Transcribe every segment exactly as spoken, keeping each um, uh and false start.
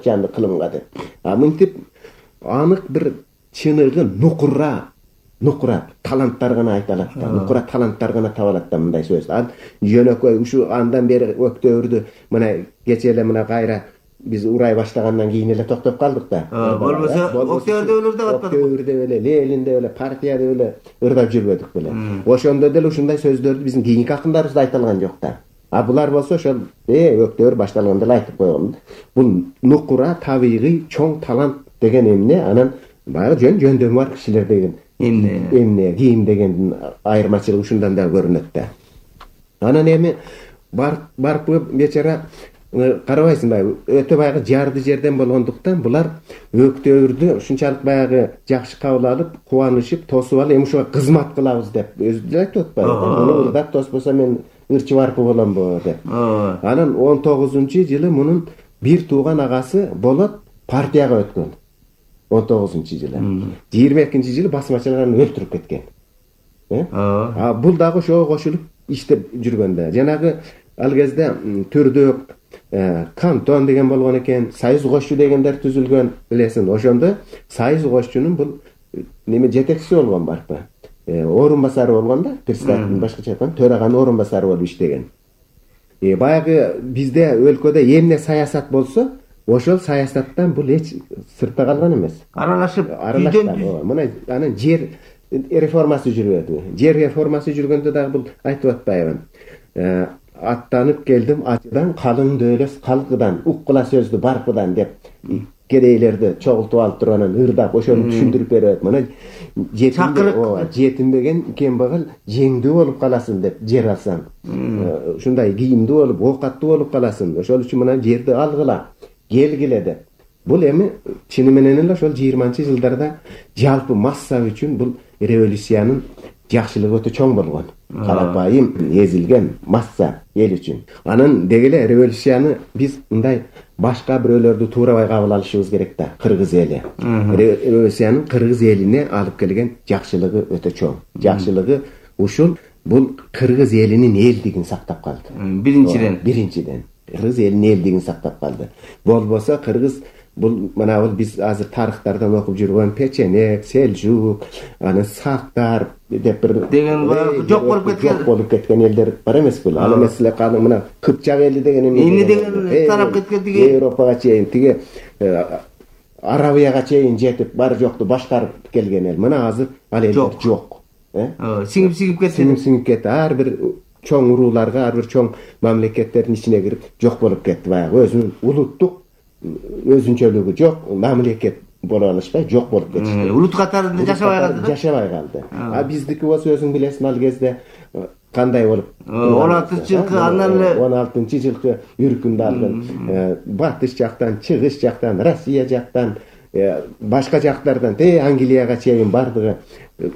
жанды кылымга деп. А мынтип анык бир чыныгы нукура нукура таланттар гана айта алат да, нукура таланттар гана таба алат да мындай сөз. Ал жөнөкөй ушу андан бери өктөбүрдү мына кече эле мына кайра биз урай баштагандан кийин эле токтоп калдык да. Болбосо Октөбүрдө эле ырдап атпадык. Октөбүрдө эле, Ленинде эле, партияда эле ырдап жүрбөдүк беле. Ошондо деле ушундай сөздөрдү биздин кийинки акындарыбыз да айта алган жок да. А булар болсо ошол э өктөбүр башталганда эле айтып койгон. Бул нукура табигый чоң талант деген эмне? Анан баягы жөн жөндөмү бар кишилер деген эмне? Эмне кийим дегендин айырмачылыгы ушундан да көрүнөт да. Анан эми бар барпы бечара карабайсыңбы, өтө баягы жарды жерден болгондуктан булар өктөбүрдү ушунчалык баягы жакшы кабыл алып, кубанышып, тосуп алып, эми ушуга кызмат кылабыз деп өзү деле айтып атпайбы? Муну ырдап тоспосо мен ырчы барпы боломбу деп. Анан он тогузунчу жылы мунун бир тууган агасы болот партияга өткөн. он тогузунчу жылы. жыйырма экинчи жылы басмачылар аны өлтүрүп кеткен. А бул дагы ошого кошулуп иштеп жүргөндө. Жанагы ал кезде түрдө кантон деген болгон экен, союз кошчу дегендер түзүлгөн, билесиң. Ошондо союз кошчунун бул неме жетекчиси болгон барпы. Орун басары болгон да, председатель башкача айтканда төраганын орун басары болуп иштеген. Э баягы бизде өлкөдө эмне саясат болсо, ошол саясаттан бул эч сыртта калган эмес. Аралашып, үйдөн мына анан жер реформасы жүрүп, жер реформасы жүргөндө дагы бул айтып атпайбы? Э аттанып келдим ачыдан, калың дөөлөс калкыдан, уккула сөздү барпыдан деп кедейлерди чогултуп алып туруп анан ырдап ошону түшүндүрүп берет. Мына жетимдик, жетимбеген кембагал жеңдүү болуп каласың деп жер алсаң. Ушундай кийимдүү болуп, оокаттуу болуп каласың. Ошол үчүн мына жерди алгыла, келгиле деп. Бул эми чыны менен эле ошол жыйырманчы жылдарда жалпы масса үчүн бул революциянын жакшылыгы өтө чоң болгон. Карапайым эзилген масса эл үчүн. Анан деги эле революцияны биз мындай башка бирөөлөрдү туурабай кабыл алышыбыз керек да. Кыргыз эли. Революциянын кыргыз элине алып келген жакшылыгы өтө чоң. Жакшылыгы ушул бул кыргыз элинин элдигин сактап калды. Биринчиден. Биринчиден. Кыргыз элинин элдигин сактап калды. Болбосо кыргыз бул мына бул биз азыр тарыхтардан окуп жүргөн печенек, селжук, анан сактар деп бир деген жок болуп кеткен. Жок болуп кеткен элдер бар эмеспи? Ал эмес эле калың мына Кыпчак эли деген эмне деген тарап кеткен тиги Европага чейин, тиги Арабияга чейин жетип бар жокту башкарып келген эл. Мына азыр ал элдер жок. Э? Сиңип-сиңип кетти. Сиңип-сиңип кетти. Ар бир чоң урууларга, ар бир чоң мамлекеттердин ичине кирип жок болуп кетти баягы. Өзүнүн улуттук өзүнчөлүгү жок, мамлекет боло алышпай жок болуп кетишти. Улут катарында жашабай калды. Жашабай калды. А биздики болсо өзүң билесиң ал кезде кандай болуп он алтынчы жылкы андан эле он алтынчы жылкы үркүндү алган. Батыш жактан, чыгыш жактан, Россия жактан, башка жактардан, те Англияга чейин бардыгы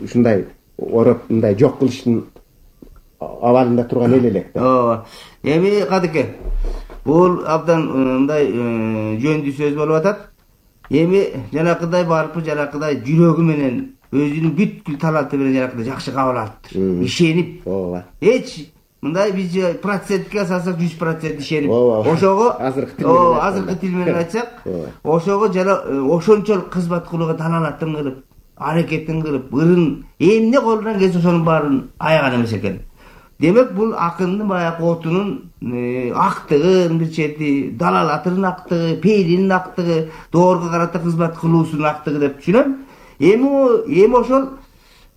ушундай ороп мындай жок кылыштын абалында турган эл элек да. Ооба. Эми кадыке бул абдан мындай жөндүү сөз болуп атат. Эми жанакыдай барпы, жанакыдай жүрөгү менен өзүнүн бүткүл таланты менен жанакыдай жакшы кабыл алыптыр. Ишенип. Ооба. Эч мындай биз процентке салсак жүз процент ишенип. Ооба. Ошого азыркы тил менен азыркы тил менен айтсак, ошого жана ошончолук кызмат кылууга таланатын кылып, аракетин кылып, ырын эмне колунан келсе ошонун баарын аяган эмес экен. Демек бул акындын баягы отунун актыгын бир чети, далалатынын актыгы, пейилинин актыгы, доорго карата кызмат кылуусунун актыгы деп түшүнөм. Эми эми ошол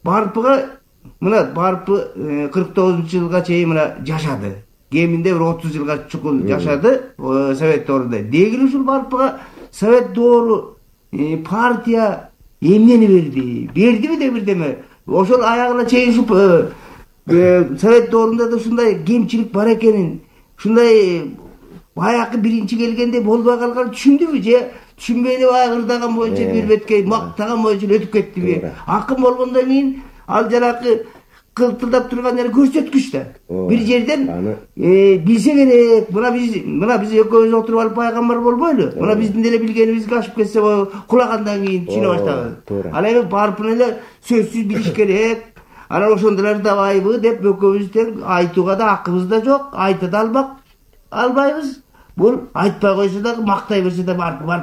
барпыга мына барпы кырк тогузунчу жылга чейин мына жашады. Кеминде бир отуз жылга чукул жашады Совет доорунда. Деги ушул барпыга Совет доору партия эмнени берди? Бердиби де бирдеме? Ошол аягына чейин ушуп Совет доорунда да ушундай кемчилик бар экенин, ушундай баягы биринчи келгенде болбой калган түшүндүбү же түшүнбөй эле баягы ырдаган боюнча бир бетке мактаган боюнча өтүп кеттиби? Акын болгондон кийин ал жанагы кылтылдап турган жер көрсөткүч да. Бир жерден билсе керек. Мына биз мына биз экөөбүз отуруп алып пайгамбар болбойлу. Мына биздин деле билгенибизге ашып кетсе кулагандан кийин түшүнө баштаган. Ал эми барпын эле сөзсүз билиш керек. Анан ошондо ырдабайбы деп экөөбүз тең айтууга да акыбыз да жок, айта да албак албайбыз. Бул айтпай койсо дагы мактай берсе да барып барып